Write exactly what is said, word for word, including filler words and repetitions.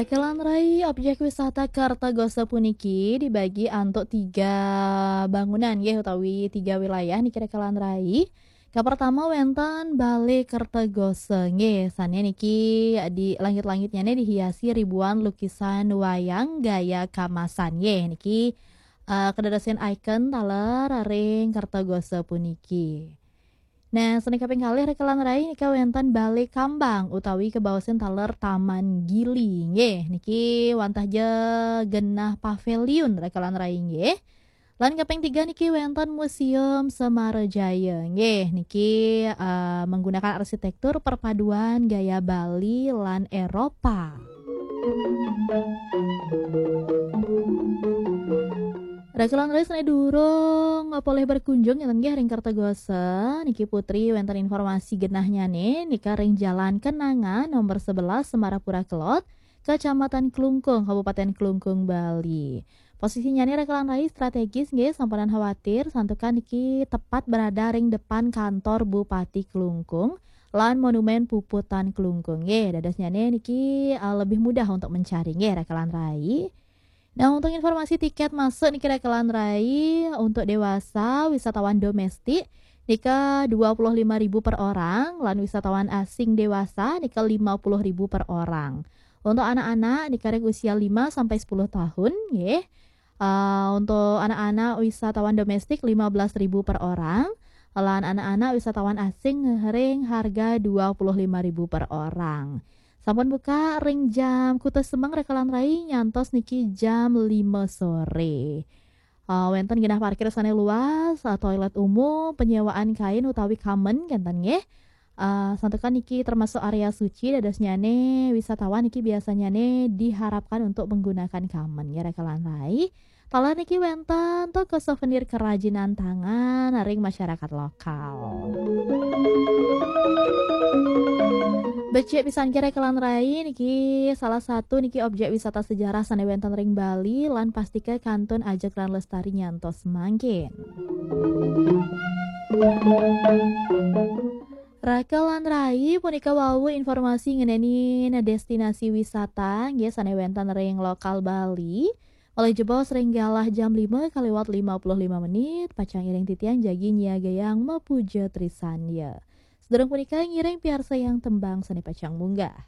Rekan rai, objek wisata Kertagosa puniki dibagi antuk tiga bangunan nggih, utawi tiga wilayah niki rekan rai. Ka pertama wenten Balé Kertagosa nggih, sané niki di langit-langitnya nih dihiasi ribuan lukisan wayang gaya kamasan nggih. Niki eh, kedadosin ikon taler ring Kertagosa puniki. Nah, sané kaping kalih rekan rai nika wenten Balé Kambang utawi kabaosin taler Taman Gili nggih. Niki wantah ja genah paviliun rekan rai nggih. Lan kaping tiga niki wenten Museum Semarajaya nggih. Niki eh, menggunakan arsitektur perpaduan gaya Bali lan Eropa. Rekan rai, sané durung polih berkunjung ngenten nggih ring Kertagosa, niki Putri wenten informasi genahnya nih, nika ring Jalan Kenanga nomor sebelas Semarapura Kelod, Kecamatan Klungkung, Kabupaten Klungkung, Bali. Posisinya nih rekan rai strategis nggih, sampunang khawatir, santukan niki tepat berada ring depan kantor Bupati Klungkung lan Monumen Puputan Klungkung nggih. Dadosnya nih niki eh, lebih mudah untuk mencari nggih rekan rai. Nah, untuk informasi tiket masuk niki rekan rai, untuk dewasa wisatawan domestik nika dua puluh lima ribu per orang, lan wisatawan asing dewasa nika lima puluh ribu per orang. Untuk anak-anak nika ring usia lima sampai sepuluh tahun nggih. Eh, untuk anak-anak wisatawan domestik lima belas ribu per orang, lan anak-anak wisatawan asing ring harga dua puluh lima ribu per orang. Sampun buka ring jam kutus semeng rekan rai nyantos niki jam lima sore. Eh, wenten genah parkir sané luas, eh, toilet umum, penyewaan kain utawi kamen kenten nggih. Eh, santukan niki termasuk area suci, dadosnya nih wisatawan niki biasanya nih diharapkan untuk menggunakan kamen nggih rekan rai. Taler niki wenten toko souvenir kerajinan tangan ring masyarakat lokal. Becik pisan nggih rekan rai, niki salah satu niki objek wisata sejarah sané wenten ring Bali lan pastika kantun ajeg lan lestari nyantos mangkin. Rekan rai, punika wau informasi ngenénin destinasi wisata nggih sané wenten ring lokal Bali. Malih jebos ring galah jam lima kaliwat lima puluh lima menit, pacang iring titiang jagi nyiagayang mapuja trisandya. Sedurung punika ngiring piarsayang tembang sané pacang munggah.